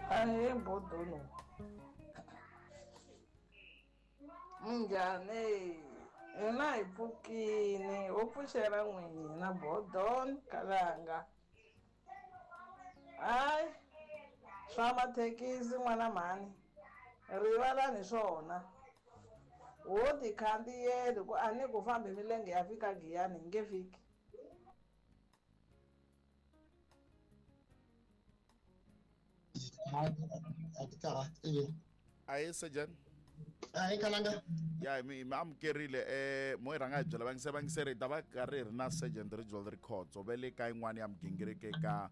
Ahee Bodono. Minjhani? Hina hi pfukini ho pfuxela n'wina Bodon Kalanga. Hayi swa mathekisi n'wana mhani rivalani swona. Ho ti khandziyeli ku a ni ku fambi milenge ya fika Giyani hi nge fiki. A ti karhati. Ahee Surgeon. Ahee Kalanga. Ya mi mi amukerile mo hi rhanga hi byela vayingiseri vayingiseri hi ta va karhi hi ri na Sergeant Rijwal Rikhotso va le ka yin'wana ya migingiriko eka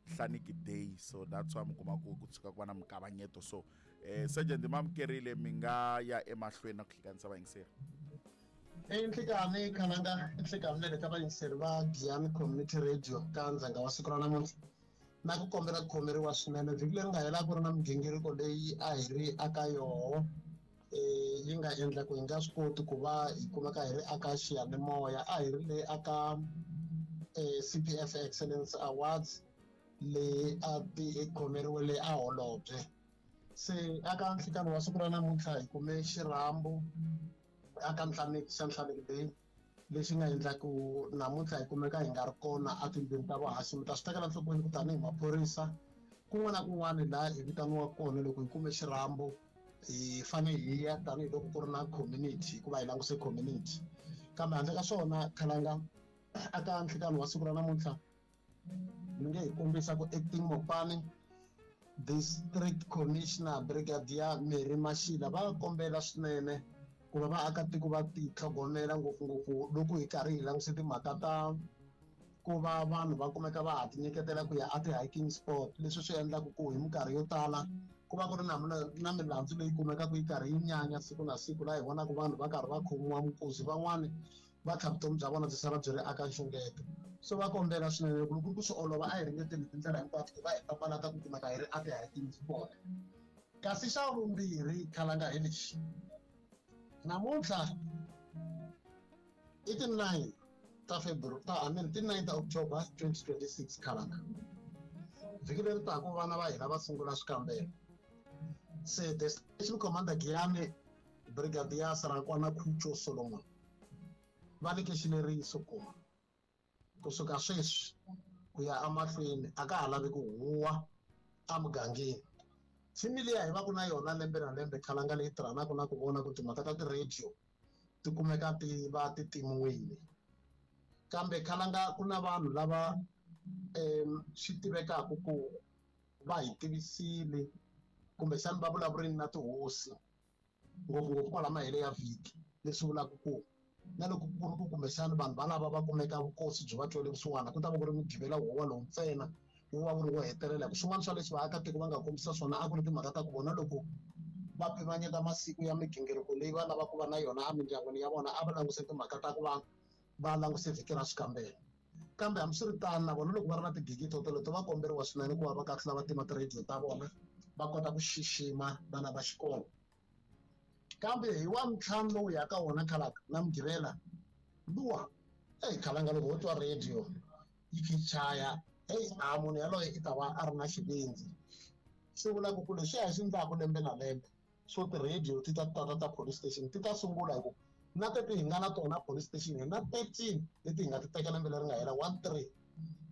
Hlaniki Day so that's why mi kuma ku ku tshuka ku va na mikavanyeto so Sergeant mi amukerile mi nga ya emahlweni na ku hlanganisa vayingiseri. I nhlikani Khalanga, i nhlikani na le ka vayingiseri va Giyani Community Radio ka ndzhenga wa siku ra namuntlha. Na ku kombela ku khomeriwa swinene vhiki leri nga hela ku ri na migingiriko leyi a hi ri aka yoho yi nga endla ku hi nga swi koti ku va hi kumeka hi ri aka xiyanimoya a hi ri le aka CPF Excellence Awards leyi a ti khomeriwe le a Holobye se aka nhlikani wa siku ra namuntlha hi kume xirhambo aka Nhlaneki xa Nhlaneki leyi lexi nga endla ku namuntlha hi kumeka hi nga ri kona etindlwini ta vuhaxi mi ta swi tekela enhlokweni ku tanihi maphorisa kun'wana na kun'wana laha hi vitaniwaka kona loko hi kume xirhambo hi fanele hi ya tanihiloko ku ri na community hikuva hi languse community kambe handle ka swona khalanga aka nhlikani wa siku ra namuntlha mi nge hi kombisa ku acting mopani district commissioner brigadier Mary Mashila va kombela swinene ku va vaakatiko va titlhogomela ngopfungopfu loko hi karhi hi languse timhaka ta ku va vanhu va kumeka va ha tinyiketela ku ya a ti-hiking spot leswi swi endlaka ku hi minkarhi yo tala ku va ku ri na na milandzu leyi kumekaka yi karhi yi nyanya siku na siku laha hi vonaka vanhu va karhi va khomiwa minkuzi van'wani va tlha vutomi bya vona byi sala byi ri aka nxungeto so va kombela swinene ku loko ku swi olova a hi ringeteni tindlela hinkwato ku va hi papalata ku kumeka hi ri a ti-hiking spot kasi xa vumbirhi khalanga hi lexi namuntlha i ti-9 ta February ta I mean ti-9 ta October 2026 khalanga vhiki leri taka vana va hina va sungula swikambelo se the station commander Giyani Brigadier Sarakwana Khucho Solomon va nyike xileriso ku kusuka sweswi ku ya emahlweni a ka ha lavi ku huwa emugangeni thimi liya hi va ku na yona lembe na lembe khalanga leyi tirhanaka na ku vona ku timhaka ta ti-radio ti kumeka ti va ti timiwile kambe khalanga ku na vanhu lava swi tivekaka ku va hi tivisile kumbexana va vulavurini na tihosi ngopfungopfu kwala mahele ya vhiki leswi vulaka ku na loko ku ri ku kumbexana vanhu valava va kumeka vukosi byi va twele vusiwana ku ta va ku ri mugqivela wowa lowu ntsena wu va wu ri wo hetelela hi ku swin'wana swa leswi vaakatiko va nga kombisa swona a ku ri timhaka ta ku vona loko va pimanyeta masiku ya migingiriko leyi va lavaka ku va na yona emindyangwini ya vona a va languse timhaka ta ku va va languse vhiki ra swikambelo kambe hambiswiritano na vona loko va ri na tigigi to toleto va komberiwa swinene ku va va kahlula va tima tirhediyo ta vona va kota ku xixima vana va xikolo kambe hi wa ntlhanu lowu yaka wona khalaka na mugqivela luwa eyi khalanga loko wo twa radio yi kha yi chaya heyi a munhu yaloye i ta va a ri na xivindzi swi vulaka ku leswi a hi swi endlaku lembe na lembe swo ti-radio ti ta tata ta police station ti ta sungula hi ku na teti hi nga na tona police station hi na 13 leti hi nga ti teka lembe leri nga hela 13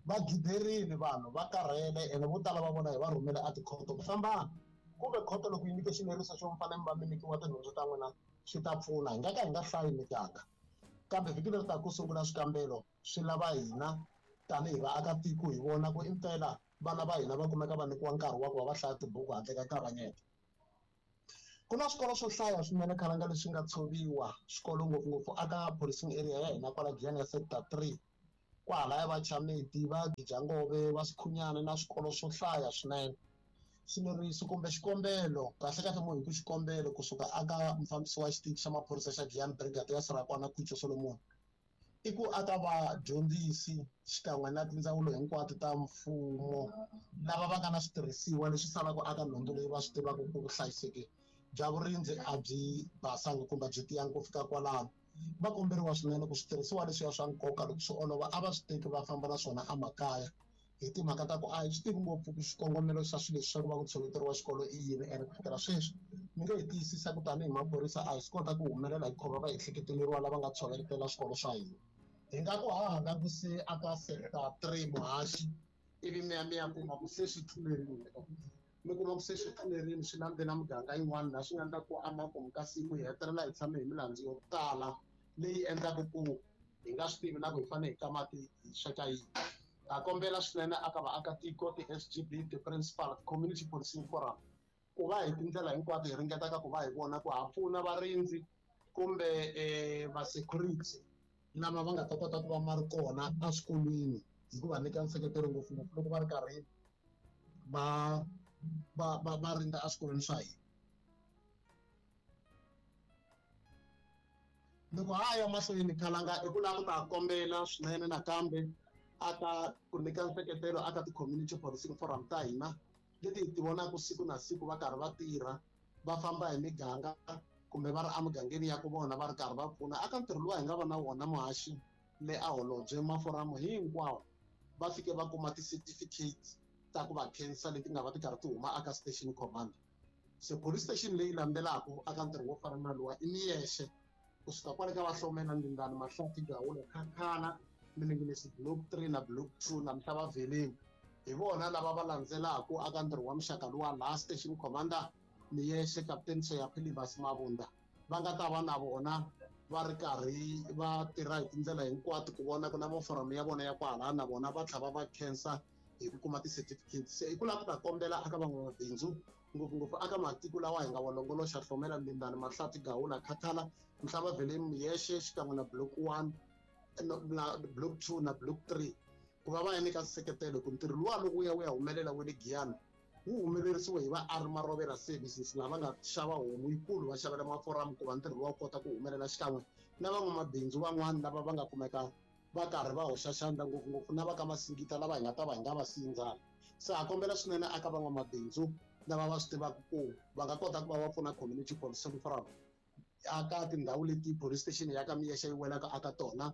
va giderile vanhu va karhele ene vo tala va vona hi va rhumele a tikhoto ku fambana kumbe khoto loko yi nyike xileriso xo mi fanele mi va mi nyikiwa tinhundzu ta n'wina swi ta pfuna hi nga ka hi nga hlayi miganga kambe vhiki leri taka ku sungula swikambelo swi lava hina tanihi vaakatiko hi vona ku impela vana va hina va kumeka va nyikiwa nkarhi wa ku va va hlaya tibuku handle ka nkavanyeto ku na swikolo swo hlaya swinene khalanga leswi nga tshoviwa swikolo ngopfungopfu aka policing area ya hina kwala Giyani ya sector 3 kwahalaya va Chamedi va Gijangove va Sikhunyana na swikolo swo hlaya swinene xileriso kumbe xikombelo kahle kahle munhu hi ku xikombelo kusuka aka mufambisi wa xitichi xa maphorisa xa Giyani Brigadier Sarakwana Khucho Solomon i ku aka vadyondzisi xikan'we na tindzawulo hinkwato ta mfumo lava va nga na switirhisiwa leswi salaka aka nhundzu leyi va swi tivaka ku vuhlayiseki bya vurindzi a byi basanga kumbe byi tiyangi ku fika kwalano va komberiwa swinene ku switirhisiwa leswiya swa nkoka loko swi olova a va swi teki va famba na swona emakaya Hi timhaka ta ku a hi swi tivi ngopfu ku xikongomelo xa swilo leswi swa ku va ku tshoveteriwa xikolo i yini, ene ku fikela sweswi mi nge hi tiyisisa ku tanihi maphorisa a hi swi kota ku humelela hi khoma vaehleketeleriwa lava nga tshoveletela swikolo swa hina. Hi nga ku ha ha languse aka sector 3 muhaxi, ivi mi ya mi ya kuma ku se swi tlulerile, mi kuma ku se swi tlulerile swi landzela muganga yin'wana laha swi nga endla ku emakumu ka siku hi hetelela hi tshame hi milandzu yo tala leyi endlaka ku hi nga swi tivi na ku hi fanele hi ka mati hi sweka yini. Ha kombela swinene aka vaakatiko, ti-S_G_B, ti-principal, ti-community policing forum ku va hi tindlela hinkwato hi ringetaka ku va hi vona ku ha pfuna varindzi kumbe va-security lama va nga ta kota ku va ma ri kona eswikolweni hi ku va nyika nseketelo ngopfungopfu loko va ri karhi va rindza eswikolweni swa hina. Loko ha ya mahlweni khalanga i ku lava ku ta kombela swinene nakambe aka ku nyika nseketelo aka ti-community policing forum ta hina leti hi ti vonaka siku na siku va karhi va tirha va famba hi miganga kumbe va ri emugangeni ya ku vona va ri karhi va pfuna aka ntirho lowu hi nga va na wona muhaxi le a holobye maforamu hinkwawo va fike va kuma ti-certificate ta ku va khensa leti nga va ti karhi ti huma aka station commander. Se police station leyi landzelaka aka ntirho wo fana na luwa i Miyexe kusuka kwale ka Vahlomela, Ndindani, Mahlathi, Gawula, Khakhala, Mininginisi block 3 na block 2 na Mhlava Veleni. Hi vona lava va landzelaka aka ntirho wa muxaka luwa laha station commander Miyexe Captain Soyaphilibas Mabunda va nga ta va na vona va ri karhi va tirha hi tindlela hinkwato ku vona ku na maforamu ya vona ya kwalaya na vona va tlhava va khensa hi ku kuma ti-certificates. Se i ku lava ku ta kombela aka van'wamabindzu ngopfungopfu aka matiko lawa hi nga wa longoloxa Hlomela, Ndindani, Mahlathi, Gawula, Khathala, Mhlava Veleni, Miyexe xikan'we na block 1 na block 2 na block 3 ku va va ya nyika nseketelo ku ntirho luwa loko wu ya wu ya humelela wa le Giyani wu humelerisiwe hi va Ari Marovela Services lava nga xava homu yikulu va xavela maforamu ku va ntirho luwa wu kota ku humelela xikan'we na van'wamabindzu van'wana lava va nga kumeka va karhi va hoxa xandla ngopfungopfu na va ka Masingita lava hi nga ta va hi nga va sindzana. Se ha kombela swinene aka van'wamabindzu lava va swi tivaka ku va nga kota ku va va pfuna community policing forum aka tindhawu leti police station ya ka Miyexe yi welaka aka tona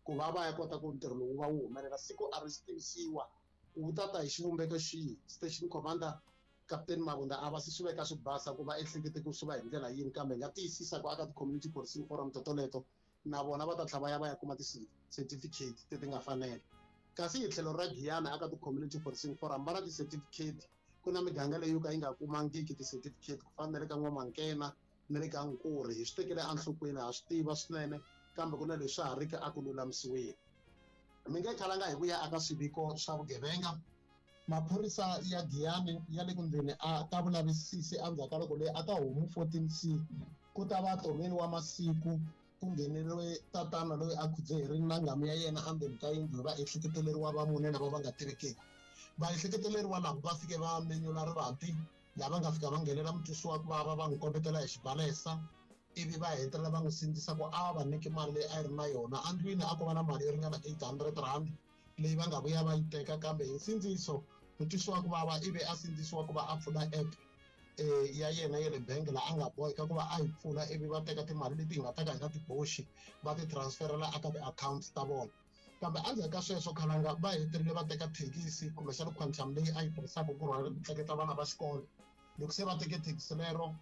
ku va va ya kota ku ntirho lowu va wu humelela siku a ri tivisiwa wu ta ta hi xivumbeko xihi. Station commander Captain Mabunda a va se swi veka swi basa ku va ehlekete ku swi va hi ndlela yini, kambe hi nga tiyisisa ku aka ti-community policing forum totoleto na vona va ta tlhela va ya va ya kuma ti-certificate leti nga fanela. Kasi hi tlhelo ra Giyani aka ti-community policing forum va na ti-certificate, ku na miganga leyi yo ka yi nga kumangiki ti-certificate ku fana na le ka N'wamankena na le ka Nkurhi. Hi swi tekele enhlokweni, ha swi tiva swinene, kambe ku na leswi ha riki a ku lulamisiweni. Mi nge khalanga hi ku ya aka swiviko swa vugevenga. Maphorisa ya Giyani ya le ku ndleni a ta vulavisisi endzhaku ka loko leyi aka homu 14C ku ta va tomeni wa masiku ku ngheneriwe tatana loyi a khudzeherini na nghamu ya yena endzeni ka yindlu va ehleketeleriwa va mune lava va nga tivekiki. Va ehleketeleriwa lava va fike va menyula rivanti lava nga fika va nghenela mutwisi wa ku vava va n'wi kombetela hi xibalesa ivi va hetelela va n'wi sindzisa ku a va nyiki mali leyi a yi ri na yona endlwini. A ko va na mali yo ringana 800 rand leyi va nga vuya va yi teka, kambe hi nsindziso mutwisi wa ku vava ivi a sindzisiwa ku va a pfula app ya yena ya le bangi laha a nga boheka ku va a yi pfula ivi va teka timali leti hi nga ta ka hi nga ti boxi va ti transferela eka ti-accounts ta vona. Kambe endzhaku ka sweswo khalanga va hetelele va teka thekisi kumbexana quantum leyi a yi tirhisaka ku rhwala ku tleketla vana va xikolo. Loko se va teke thekisi lero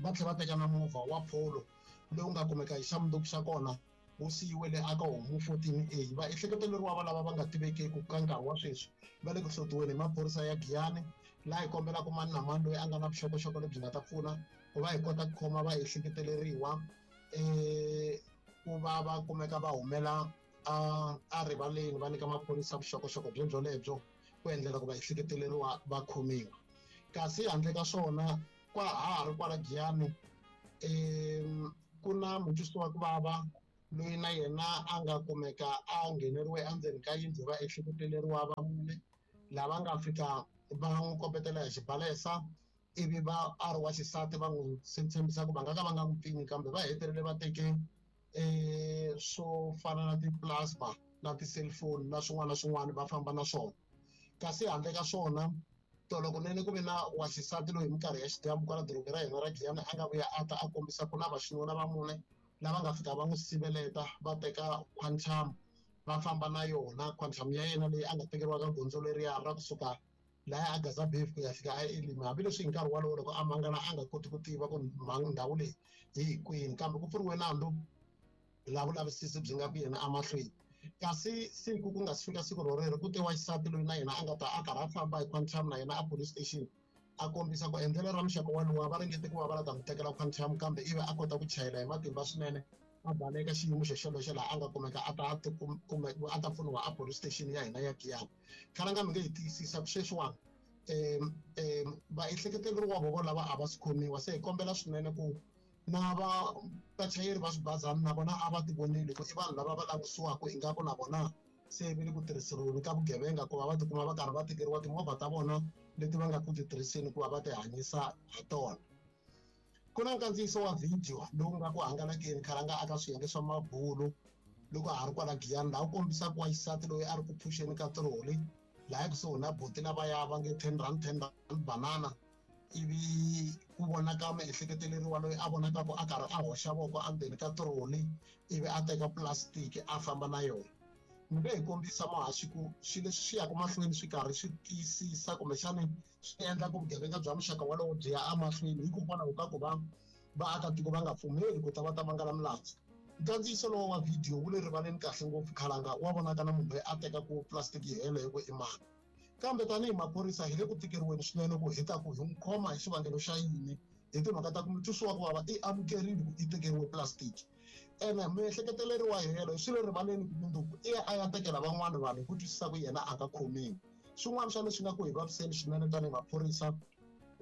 va tlhela va teka na movha wa Polo lowu nga kumeka hi xa mundzuku xa kona wu siyiwele aka homu 14A. Va ehleketeleriwa va lava va nga tivekeki ka nkarhi wa sweswi va le ku hlotiweni hi maphorisa ya Giyani, laha hi kombelaka mani na mani loyi a nga na vuxokoxoko lebyi nga ta pfuna ku va hi kota ku khoma va ehleketeleriwa ku va va kumeka va humela a rivaleni va nyika maphorisa vuxokoxoko byebyo ku endlela ku va ehleketeleriwa va khomiwa. Kasi handle ka swona kwa ha ri kwala Giyani ku na mutwisi wa ku vava loyi na yena a nga kumeka a ngheneriwe endzeni ka yindlu va ehleketeleriwa va mune lava nga fika va n'wi kombetela hi xibalesa ivi va a ri wa xisati va n'wi tshembisa ku va nga ka va nga n'wi pfinyi, kambe va hetelele va teke swo fana na ti-plasma na ti-cellphone na swin'wana na swin'wana va famba na swona. Kasi handle ka swona tolo kunene ku ve na wa xisati loyi hi minkarhi ya xidyambu kwala dorobeni ra hina ra Giyani a nga vuya a ta a kombisa ku na vaxinuna va mune lava nga fika va n'wi siveleta va teka quantum Va famba na yona Quantum ya yena leyi a nga tekeriwa ka gondzo leriya ra kusuka laya a Gaza Beef ku ya fika a Elim, hambileswi hi nkarhi wolowo loko a mangala a nga koti ku tiva ku ndhawu leyi hi kwini, kambe ku pfuriwe nandzu laha vulavisisi byi nga ku yena emahlweni. Kasi siku ku nga si fika siku rorero, ku te wa xisati loyi na yena a nga ta a karhi a famba hi Quantum na yena a police station, a kombisa ku endlelo ra muxaka walowo va ringete ku va va la ta n'wi tekela Quantum, kambe ivi a kota ku chayela hi matimba swinene a baleka xiyimo xo xolexo laha a nga kumeka a ta a ta pfuniwa a police station ya hina ya Giyani. Khalanga mi nge hi tiyisisa ku sweswiwani vaehleketeleriwa vo lava a va swi khomiwa, se hi kombela swinene ku na va vachayeri va swibazana na vona a va ti voneli ku i vanhu lava va langutisiwaka ingaku na vona se va le ku tirhiseriweni ka vugevenga, ku va va tikuma va karhi va tekeriwa timovha ta vona leti va nga ku ti tirhiseni ku va va ti hanyisa ha tona. Ku na nkandziyiso wa video lowu nga ku hangalakeni khalanga aka swiyenge swa mabulu loko ha ri kwala Giyani, laha wu kombisaka wa xisati loyi a ri ku phuxeni ka tiroli laha kusuhi na buti lavaya va nge 10 rand 10 rand banana, ivi ku vonaka miehleketeleriwa loyi a vonakaka a karhi a hoxa voko endzeni ka tiroli ivi a teka plastic a famba na yona. Mi nge hi kombisa muhaxi ku swilo leswi swi yaka mahlweni swi karhi swi tiyisisa kumbexani swi endla ku vugevenga bya muxaka wolowo byi ya emahlweni hikokwalaho ka ku va vaakatiko va nga pfumeli ku ta va ta mangala milandzu. Nkandziyiso lowu wa video wu le rivaleni kahle ngopfu khalanga, wa vonaka na munhu loyi a tekaku plastic yi hela hi ku i mani. Kambe tanihi maphorisa hi le ku tikeriweni swinene ku hi ta ku hi n'wi khoma hi xivangelo xa yini, hi timhaka ta ku mutwisiwa ku vava i amukerile ku i tekeriwe plastic. Ene miehleketeleriwa helo swi le rivaleni ku mundzuku i ya a ya tekela van'wani vanhu hi ku twisisa ku yena a nga khomiwi. Swin'wana swa leswi nga ku hi vaviseni swinene tanihi maphorisa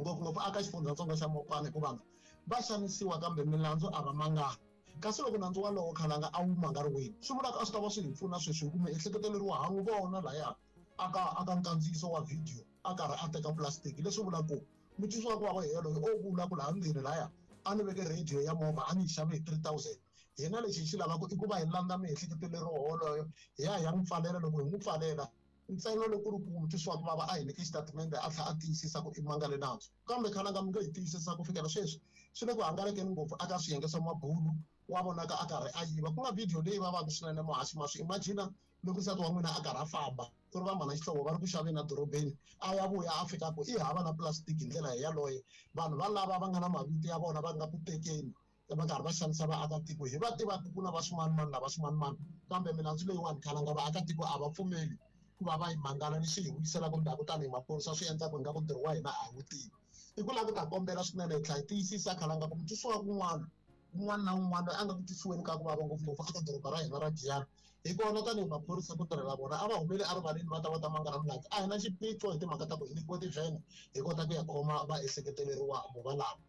ngopfungopfu aka xifundzatsongo xa Mopani, hikuva vanhu va xanisiwa kambe milandzu a va mangani. Kasi loko nandzu walowo khalanga a wu mangariwile, swi vulaka a swi ta va swi hi pfuna sweswi hi ku miehleketeleriwa ha n'wi vona laya aka nkandziyiso wa video a karhi a teka plastic, leswi vulaka ku mutwisiwa ku vava yena loyi o vula ku laha ndzeni laya a ni veke radio ya movha a ni yi xave hi 3000. Hina lexi hi xi lavaka i ku va hi landza miehleketeleriwa woloyo hi ya hi ya n'wi pfalela. Loko hi n'wi pfalela ntsena loko ku ri ku mutwisiwa ku vava a hi nyike xitatimende a tlhela a tiyisisa ku i mangale nandzu. Kambe khalanga mi nge hi tiyisisa ku fikela sweswi swi le ku hangalakeni ngopfu aka swiyenge swa mabulu, wa vonaka a karhi a yiva, ku nga video leyi vavaka swinene muhaxi. Ma swi imagine loko nsati wa n'wina a karhi a famba ku ri va mhana xihlovo va ri ku xaveni edorobeni, a ya vuya a fika ku i hava na plastic hi ndlela yaloye. Vanhu valava va nga na mavito ya vona va nga ku tekeni va karhi va xanisa vaakatiko, hi va tivaka ku na va swimanimani na va swimanimani, kambe milandzu leyiwani khalanga vaakatiko a va pfumeli ku va va yi mangala. Leswi hi vuyiselaka ndzhaku tanihi maphorisa swi endlaka ingaku ntirho wa hina a hi wu tivi. I ku lava ku ta kombela swinene hi tlhela hi tiyisisa khalanga ku mutwisiwa kun'wana un'wana na un'wana loyi a nga ku twisiweni ka ku vava ngopfungopfu eka doroba ra hina ra Giyani, hi kona tanihi maphorisa ku tirhela vona a va humeli erivaleni va ta va ta mangala milandzu. A hi na xiphiqo hi timhaka ta ku hi nyikiwe tivhene hi kota ku ya khoma vaehleketeleriwa vo valava.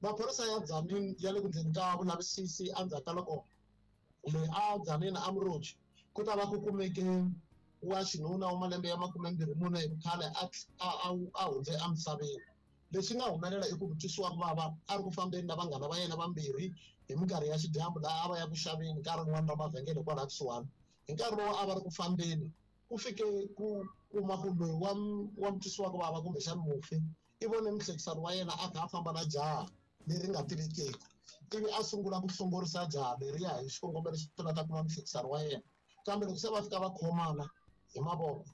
Maphorisa ya Tzaneen ya le ku ndleni ka vulavisisi endzhaku ka loko loyi a Tzaneen a Muroji ku ta va ku kumeke wa xinuna wa malembe ya 24 hi vukhale a hundze emisaveni. Leswi nga humelela i ku mutwisiwa ku vava a ri ku fambeni na vanghana va yena vambirhi hi minkarhi ya xidyambu laha a va ya ku xaveni ka rin'wana ra mavhengele kwalaha kusuhani. Hi nkarhi lowu a va ri ku fambeni ku fike ku kuma ku loyi wa mutwisiwa ku vava kumbexana mufi i vone muhlekisani wa yena a kha a famba na jaha leri nga tivekeki, ivi a sungula ku hlongorisa jaha leriya hi xikongomelo xo la ta kuma muhlekisani wa yena. Kambe loko se va fika va khomana hi mavoko,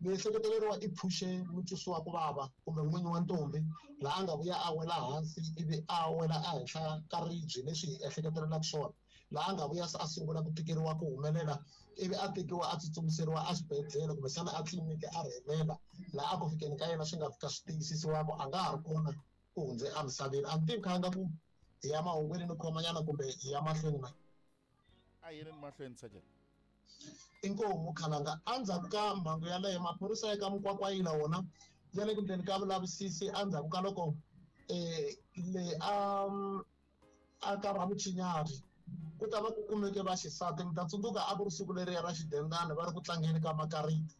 miehleketeleriwa i phuxe mutwisiwa ku vava kumbe n'winyi wa ntombi laha a nga vuya a wela hansi ivi a wela ehenhla ka ribye leswi hi ehleketelelaka swona, laha a nga vuya se a sungula ku tikeriwa ku humelela ivi a tekiwa a tsutsumiseriwa exibedhlele kumbexana a tliliniki a rhelela, laha a ku fikeni ka yena swi nga fika swi tiyisisiwa ku a nga ha ri kona ku hundze emisaveni. A ni tivi khanga ku hi ya mahungwini ni khomanyana kumbe hi ya mahlweni na? A yini ni mahlweni Sergeant? Inkomu khalanga. Endzhaku ka mhangu yaleyo maphorisa ya ka Mukwakwayila wona ya le ku ndleni ka vulavisisi endzhaku ka loko le a ka Ramuchinyari ku ta va ku kumeke vaxisati. Mi ta tsundzuka a ku ri siku leriya ra xidendani va ri ku tlangeni ka makariti.